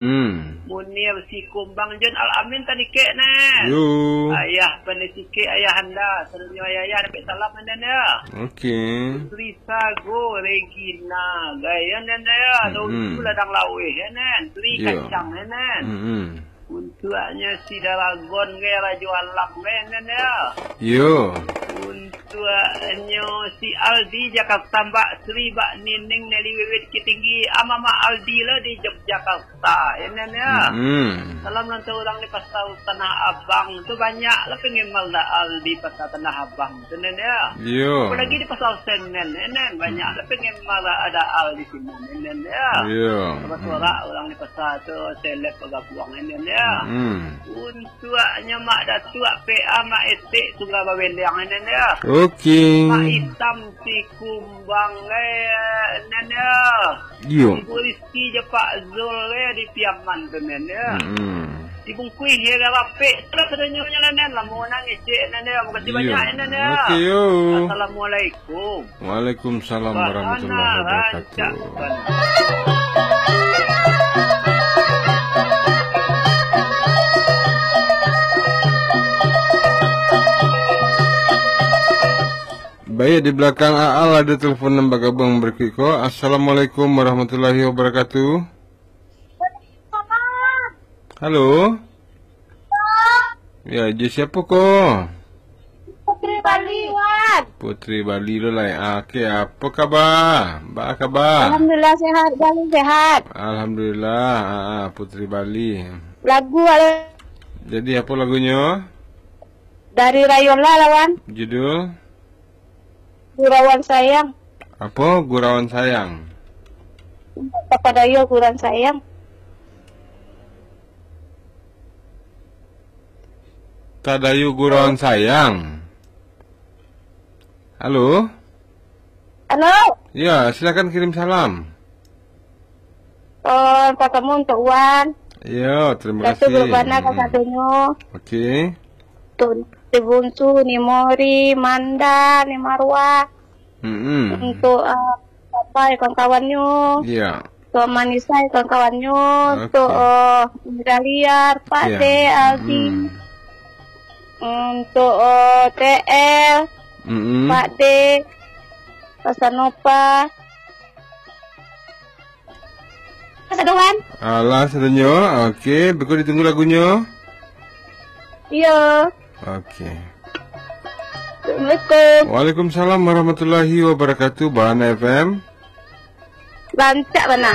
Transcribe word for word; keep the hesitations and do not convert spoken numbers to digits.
Hmm. Munir Sikumbang Jon Al-Amin tadi kek, Nen. Yo. Ayah pandai sikek ayah anda. Sadonyo ayah-ayah dapek salam, Nen, yo. Oke. Putri Sago Regina, gaya, Nen, yo. Mm-mm. Daun tu ladang laweh, ya, Nen. Sri Yo. Kacang, ya, Nen. Mm-mm. Untuaknyo si Daragon, gaya, Rajo Alam, gaya, Nen, yo. Yo. Untuaknyo si Aldi Jakarta, Mbak Sri, Mbak Nining, Nelly Wiwit Kitinggi, Mama Aldi lah di Yogyakarta, ya, Nen, ya. Mm-mm. Salam nan urang di Pasar Tanah Abang tu banyak lah pengemal daal di Pasar Tanah Abang tu, Nen, ya. Yo. Apalagi di Pasar Senen, ya, Nen, banyak lah pengemal daal di sini, ya, Nen, ya. Yo. Sorak-sorak urang di pasar tu, seleb bagabuang, ya, Nen, ya. Mm-mm. Untuaknyo Mak Datuak P A, Mak Etek, Tunggal Bawendang, ya, Nen, ya. Oke. Mak Itam, Sikumbang, ya, Nen, ya. Iyo. Ibu Rizki jo Pak Zul, ya, di Piaman tu, Nen, ya. Mm-mm. Dibungkuih, ya, rapek. Salah sadonyo nyo lah, Nen. Lamo nan ngecek, Nen, ya. Makasih Iyo. banyak, ya, Nen, ya. Oke, yo. Assalamualaikum. Waalaikumsalam warahmatullahi wabarakatuh. Baik, di belakang Aal ada telepon nan bagabuang barikuik ko. Assalamualaikum warahmatullahi wabarakatuh. Halo. Ya, jo siapo ko? Putri Bali, Wan. Putri Bali lo lai. Ah, oke, apo kaba? Ba kaba? Alhamdulillah sehat, Bali sehat. Alhamdulillah, ah, ah, Putri Bali. Lagu ado. Jadi, apo lagunyo? Dari Rayola lah, Wan. Judul? Gurauan Sayang. Apo? Gurauan Sayang. Tapadayo Gurauan Sayang. Tadayo Gurauan Sayang. Halo? Halo? Ya, silakan kirim salam. Eh, sasamo untuak Wan. Yo, terima Datu kasih. Berbana Hmm. kasadonyo. Oke. Untuak Ni Bunsu, Ni Mori, Manda, Ni Marwah. Mm-mm. Untuak, eh, Papa, kawan-kawannyo. Iya. Untuak Manisa, kawan-kawannyo. Oke. Untuak, eh, Daliar, Pak Iya. De, Aldi. Mm-mm. Untuak, eh, T L, Mm-mm. Pak De, Pasanopa. Satu, Wan. Alah, sadonyo. Oke, beko ditunggu lagunyo. Iyo. Oke. Assalamualaikum. Waalaikumsalam warahmatullahi wabarakatuh. Bahana F M. Rancak bana.